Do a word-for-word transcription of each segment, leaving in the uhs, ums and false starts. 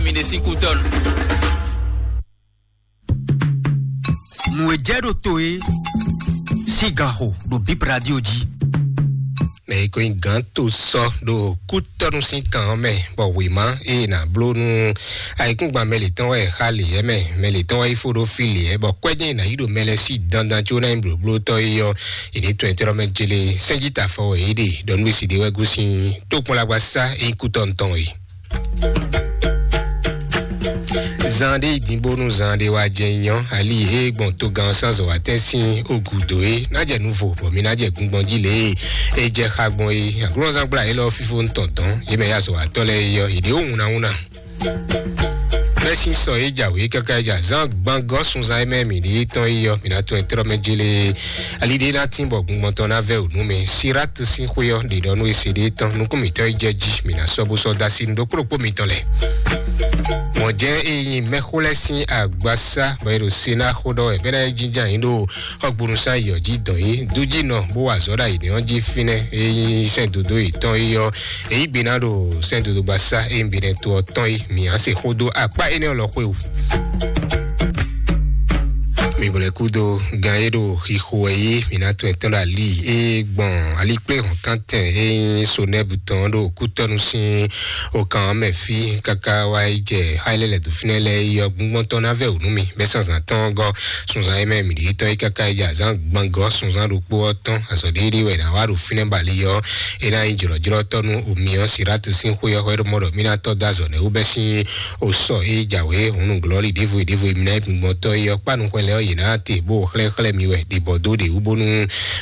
Mi ɖe sín kútɔ́nu. Nǔ e jɛ ɖo to é sín ganxo ɖo Bip Radio jí. Mɛ yi ko nyí gǎn to sɔ ɖo kútɔ́nu sín kan ɔ́ mɛ, bɔ wěma e nǎ bló nú ayikúngban mɛ lětɔn wɛ xa lě ɛ mɛ, mɛ lětɔn wɛ yi fó ɖó fí lě ɛ, bɔ kwɛ́ jɛ́n è nǎ yí ɖo mɛ lɛ́ɛ sí dandan có ná nyí blǒblótɔ́ é ɔ́, è nǐ tɔn ɛ tlɔ́ mɛ jélé sɛ́njí tafɔ wɛ é ɖe ɖɔ nú e si ɖé wɛ gosín tókpɔ́nlágbasá e nyí kútɔ́nu tɔn é. Zan ɖé yi din bónú zan ɖé wá jɛ nyɔ ali e gbɔn togán sánzɔ wá tɛ́n sín ogudo é ná jɛ nuvo bɔ mi ná jɛ gungbɔn jí lě e é jɛ xa gbɔn é. Aglɔ́nzán gbla é lɔ fífó ntɔn dɔn yě mɛ ya zɔ wá tɔ lɛ é yɔ yě ɖé wúna wúna. Mɛsín sɔ é jǎwé káká é jɛ azán gbangɔ sunzan é mɛ mǐ ɖe tɔn é yɔ mǐ ná tɔn ɛ trɔ mɛ jélé. Ali ɖé ná tín bɔ gbɔngbɔn tɔn ná vɛ ònú mɛ. Sirat sín xwé ɔ́ ɖe ɖɔ nú ese ɖé tɔn nukún mǐtɔn é jɛ jí mǐ ná sɔ́ bó sɔ́ dá sí nú ɖokpó ɖokpó mitɔn lɛ. Mɔ̌ jɛ́n é nyí mɛxó lɛ́ɛ sín agbasá bɔ é ɖo se ná xó ɖɔ wɛ bɛ́ ná é jínjɔ́n ayǐ ɖo xɔgbónúsán yɔ jí dɔn yí dújínɔ bó wa azɔ̌ ɖo ayǐ ɔ́ jí fínɛ́ é nyí sɛ́n dodó yětɔn é yɔ. Èyí gbe ná ɖo sɛ́n dodó gbasá é nyí binɛ to ɔ́ tɔn yí mǐ á se xó dó akpá énɛ́ lɔ xwé wú. Mi bɔlɛ kúdo gan e ɖo xixo wɛ yí mi ná tɔn ɛtɔn ɖo ali e gbɔn alikplé hɔn kántɛn e nyí sonɛbu tɔn ɖo kútɔnu sín okan mɛ fí káká wá yi jɛ xá ilé lɛ dó fínɛ́ lɛ yɔ gbɔngbɔn tɔn ná vɛ ònú mi bɛ sanzan tɔn gɔ sunzan e mɛ mi ɖi tɔn yi káká yi jɛ azán gbangɔ sunzan ɖokpó ɔ́ tɔn azɔ ɖéɖé wɛ ná wá ɖo fínɛ́ bali yɔ e ná nyí jlɔjlɔtɔ nú omi ɔ́ Siratu sín xwé ɔ́ hwɛ ɖo mɔ ɖɔ mí ná tɔ́ dó azɔ nɛ́ wú bɛ sín o sɔ e jǎwe hǔn nǔglɔ́lí ɖěvo e ɖěvo e mi ná yi gbɔngbɔntɔ́ é ɔ́ kpá nukɔn lɛ́ɛ ɔ́ yě ná te bó xlɛ́xlɛ́ mi wɛ ɖě bɔ dó ɖě wú bónú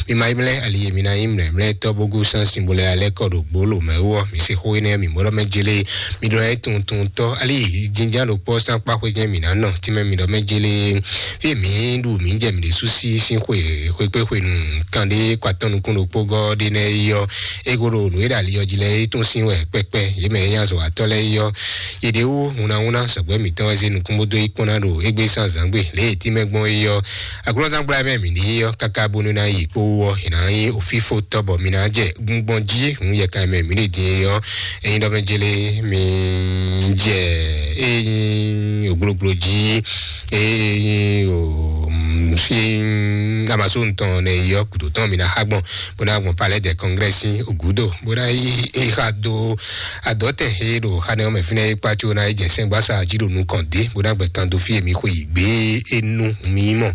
mi ma yi mlɛ́ ali e mi ná nyí mlɛ̌mlɛ́tɔ́ bó gosín sín bó lɛ́ alɛ́ kɔ ɖo gbǒ lomɛ wú ɔ́. Mi se xó énɛ́ mi mɔɖɔ mɛ jélé mi ɖɔ é tuntuntɔ́ ali jínján ɖokpó sán kpá xwé jɛ́n mi ná nɔ tínmɛ mi ɖɔ mɛ jélé fí e mi ɖu mi jɛ mi ɖésú sí sín xwe xwekpé xwenu kanɖé kɔ atɔ́ nukún ɖokpó gɔ́ ɖé nɛ́ yi ɔ́. Ego ɖo nǔ e ɖo ali ɔ́ jí lɛ́ɛ é tún sín wɛ kpɛkpɛ yě mɛ e nyí azɔ̌watɔ́ lɛ́ɛ é ɔ́. Yěɖéwú hunahúnna sɔgbɛ́ mǐtɔn wɛ zé nukún bó dó yi kpɔ́n ná ɖo égbé sín azǎngbe lě e tínmɛ gbɔn é ɔ́. Aglɔ́zán gbla mɛ mǐ ɖe é ɔ́ káká bónú ná yi kpó wú ɔ́, è nǎ nyí òfífó tɔ́ bɔ mi ná jɛ gbɔngbɔn jí hǔn yɛkan mɛ mǐ ɖe din é ɔ́. Ényí ɖɔ mɛ jélé mi jɛ ényí ògbólógbóló jí ényí o fi amasó ntɔn nɛ yi ɔ́ kùtò tɔn mi ná xá gbɔn bó ná gbɔn palais de congrès sín ògúdò bó ná yi xa dó adɔtɛ he ɖo xanɛ ɔmɛ fínɛ yi kpatso ná yi jɛ sɛngbasa jí ɖo nukɔn dé bó ná gbɛ kan dó fí èmi xwe yi gbé enu mi mɔ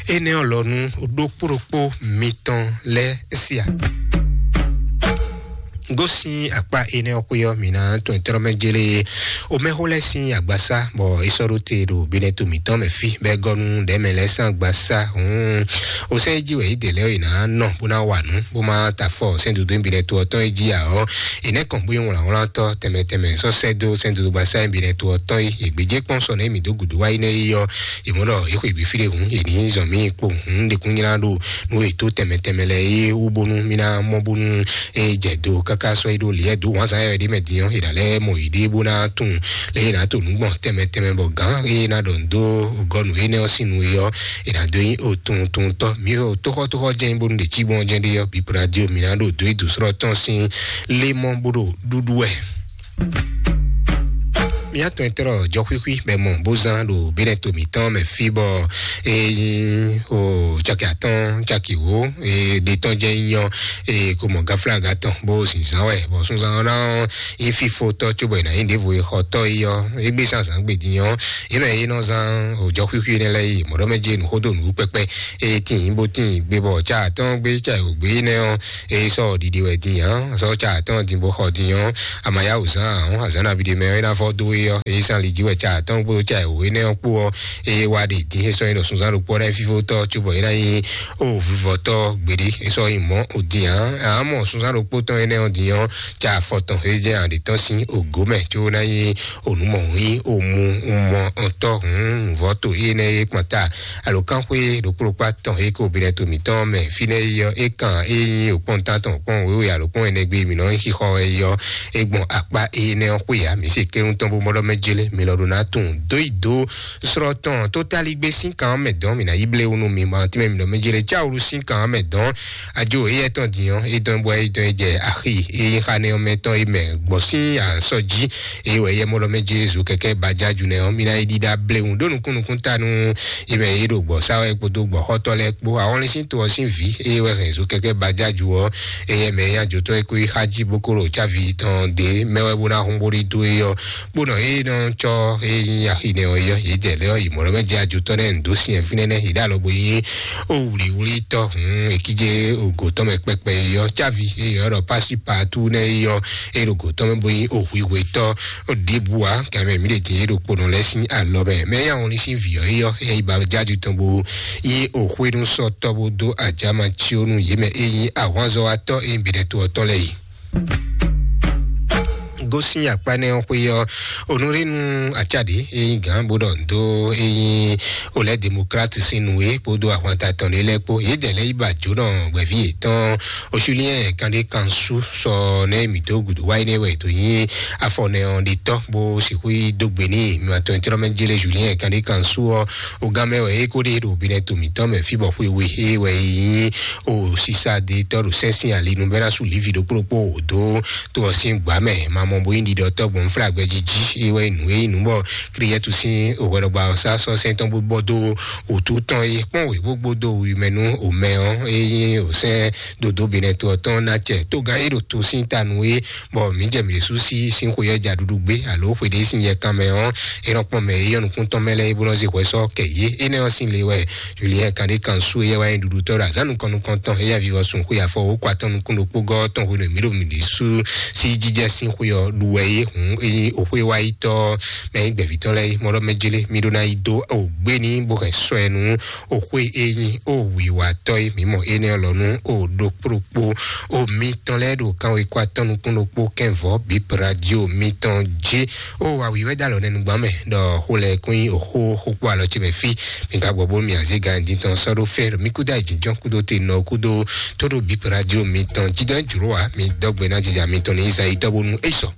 ene ɔlɔnu ɖokpó ɖokpó mitɔn lɛ sia. Gosín akpá énɛ́ ɔ́ xwé ɔ́, mǐ ná tɔn tɔ́rɔ́mɛ jélé omɛxó lɛ́ɛ sín agbasá, bɔ é sɔ́ ɖó te ɖo binɛto mǐtɔn mɛ fí, bɔ é gɔ́ nú ɖɛ̌mɛ lɛ́ɛ sín agbasá. Hǔn, osɛ́n e jí wɛ yě dě lɛ́ɛ ɔ́, yě ná nɔ bó ná wa nǔ, bó má ta afɔ sɛ́n dodó binɛto ɔ́ tɔn e jí ǎ ɔ́, è nɛ́ kɔn bó nyí wlǎnwlántɔ́ tɛnmɛ tɛnmɛ sɔ́ sɛ́ dó sɛ́n dodó gbasá binɛto ɔ́ tɔn e yě gbéjé kpɔ́n sɔ nɛ́ mǐ dó gǔdo wá yi nɛ́ yi ɔ́, yě mɔ ɖɔ yě xwe gbě fí ɖé hǔn, yě ní zɔn mì kpo hǔn ɖekúnnyla ɖo nú è dó tɛnmɛ tɛnmɛ lɛ́ɛ é wú bónú mì ná mɔ bónú é jɛ do káká sɔ́ é ɖó liɛ dó wǎnzán yɛ ɖé mɛ din ɔ́, è nǎ lɛ́ mɔ yěɖée bó ná tunwun lě e è nǎ to nǔ gbɔn tɛnmɛ tɛnmɛ bɔ gǎn e è nǎ ɖɔ nǔ dó gɔ́ nǔ énɛ́ ɔ́ sín nu é ɔ́, è nǎ dó nyí otuntuntɔ́. Mǐ ɖo tóxɔ́tóxɔ́ jɛ́n bónú ɖě cí gbɔn jɛ́n ɖé ɔ́, bǐ radio mǐ ná ɖo dó yi dǒsrɔ́ tɔn sín lé mɔ bó ɖo ɖúɖú wɛ. Mía tɔn e tlɔ jɔxwíxwí bɛ mɔ bó zán ɖo bínɛ to mǐtɔn mɛ fí bɔ e nyí o caki atɔn caki wó e ɖe tɔn jɛ nyɔ e ko mɔ gaflaga tɔn bó zinzan wɛ bɔ sunzan ɔ́ ná nyí fífó tɔ cóbɔ è nǎ nyí ɖěvo e xɔ tɔ yi ɔ́ égbé zán zán gbe din ɔ́ yě mɛ e nɔ zán o jɔxwíxwí énɛ́ lɛ́ɛ yi mɔ̌ ɖɔ mɛ jɛ nǔ xó dó nǔ kpɛkpɛ e tín bó tín gbe bɔ ca atɔn gbé ca e wǒ gbé énɛ́ ɔ́ e sɔ ɖiɖi wɛ din ǎ sɔ ca atɔn din bó xɔ din ɔ́ amayáwǔ zán ǎ azǎn nabí ɖé mɛ ɔ́ é ná vɔ dó é ɔ́ é sán li jí wɛ ca atɔn kpódó ca wǒ énɛ́ ɔ́ kpó ɔ́ é wá ɖe din é sɔ́ nyí ɖɔ sunzán ɖokpó ɔ́ ná fífó tɔ́ cóbɔ é ná nyí o vivɔtɔ́ gbeɖé é sɔ́ nyí mɔ̌ o din ǎ ǎ mɔ sunzán ɖokpó tɔn énɛ́ ɔ́ din ɔ́ ca afɔ tɔn é jẹ́ àɖě tɔn sín ògó mɛ có ná nyí onúmɔ yí omu mɔ ɔtɔ hǔn nǔvɔ́ to énɛ́ é kpɔn ta alǒkánxwé ɖokpóɖokpó atɔn é kó binɛ to mǐtɔn mɛ fínɛ́ é yɔ é kan é nyí òkpɔ́n tántɔn òkpɔ́n wěwe alǒkpɔ́n ɛnɛgbé mǐ nɔ nyí xixɔ é yɔ é gbɔn akpá énɛ́ ɔ́ xwé ǎ mǐ se kɛ́ɖú tɔn bó Kpɔɖɔ mɛ jele mi lɔ ɖo ná tun dó yi dó srɔ́ tɔn tó taligbé sín kan mɛ dɔn mi ná yi blé wúnú mi ma tɛmɛ mi lɔ mɛ jele tsáwúrú sín kan mɛ dɔn. Ajo eyɛ tɔn dinyɔ edɔn bɔ edɔn jɛ axi eyi xa nɛ ɔmɛ tɔn yi mɛ gbɔ sín asɔ jí. Eye wɛ yɛ mɔ lɔ mɛ jezu kɛkɛ baja ju nɛ ɔ mi ná yi ɖiɖa blé wún ɖó nukún nukún tanu. Yi mɛ yi ɖo gbɔ sáwɛ kpódó gbɔ xɔtɔ lɛ kpó awɔnlin sín to ɔ sín vǐ eye wɛ hɛn zo kɛkɛ baja ju ɔ. Eye mɛ ya jotɔ e kó yi xa jí bókolo tsávi tɔn dé mɛ wɛ bó ná hun bó ɖi dó eyɔ. Kpónɔ eye nɔ tsɔ eye nyi axi nɛ ɔ yɔ yi dɛ lɛ ɔ yi mɔlɔ mɛ jɛ ajotɔ nɛ ndo sinyɛ fínɛ nɛ yi ɖe alɔ bo yi o wliwli tɔ hun ekidze ogo tɔn mɛ kpɛkpɛ yɔ tsávi eye ɔ ɖɔ pasi patu nɛ yɔ eye ɖo go tɔn mɛ bo yi o hwihwe tɔ. Ɖibua kɛmɛ mi ɖe din ye ɖo kponɔ lɛ sín alɔ mɛ mɛ ya wɔn ní sín vǐ ɔ yɔ eye ba jáde tɔn bo yi o hwenu sɔtɔ bo do ajama tsionu yi mɛ eyi ahwanzɔwatɔ eyi bi ɖe to ɔtɔ lɛ yi. Gosin akpa nɛ ɔn xwe yɔ onurinu atsadi eyi gan bo ɖɔ ndo eyi olɛ demokrat sin nu e kpodo ahwanta tɔn ɖe lɛ kpo yi dɛ lɛ yi ba jo nɔ gbɛvi etɔn osuliyɛn kan ɖe kan su sɔ nɛ mi do gudu wa yi nɛ wɛ to nyi afɔ nɛ ɔn ɖe tɔ bo sixu yi do gbe ni mi ma tɔn tɔn mɛ jele juliyɛn kan ɖe kan su ɔ o gan mɛ wɛ e ko ɖe ɖo bi nɛ to mi tɔn mɛ fi bɔ xwe we e wɛ yi o sisa de tɔ ɖo sɛnsin ali nu bɛ na su livi ɖokpo ɖokpo o do to ɔ sin gba mɛ ma mɔ bo yi ɖiɖɔ tɔ gbɔn fla gbɛ jiji e wɛ nu e nu bɔ kriyɛtu sin o hwɛɖɔgba ɔ sa sɔ sɛn tɔn bo bɔ do otu tɔn yi kpɔn wě gbogbo do wi mɛ nú omɛ ɔ e nyi osɛn dodo benɛ to ɔ tɔn na cɛ to gan e ɖo to sin ta nu e bɔ mi jɛ mi ɖe su si sin xwe yɔ ja ɖuɖu gbé alo xwe ɖe sin yɛ kan mɛ ɔ e nɔ kpɔn mɛ e yɔ nukún tɔn mɛ lɛ e bo nɔ zi hwɛ sɔ kɛ yé e nɛ ɔ sin le wɛ julien kan ɖe kan su e yɛ wa nyi ɖuɖu tɔ ɖo azan nukɔn nukɔn tɔn e yɛ vivɔ sun xwe afɔ wo kɔ atɔn nukún ɖokpó gɔ tɔn xwe nɔ mi ɖo mi ɖe su si jijɛ sin xwe ɔ ɖu wɛ e hun e nyi o xwe wa yi tɔ mɛ nyi gbɛvi tɔn lɛ yi mɔ ɖɔ mɛ jele mi ɖo na yi do o gbé ni bo hɛn sɔ ɛ nu o xwe e nyi o wiwatɔ yi mi mɔ e nɛ lɔ nu o ɖo kpokpo o mi tɔn lɛ ɖo kan we kɔ atɔn nukún ɖokpó kɛnvɔ bip radio mi tɔn jí o awi wɛ da lɔ nɛ nugban mɛ ɖɔ xo lɛ kún yi o xo xo kpó alɔ tsi mɛ fi mi ka gbɔ bo mi aze gan di tɔn sɔ ɖo fɛ mi kudo ayi jinjɔn kudo te nɔ kudo to ɖo bip radio mi tɔn jí dɔn juro wa mi dɔgbe na jija mi tɔn ni izayi dɔ bonu e sɔ.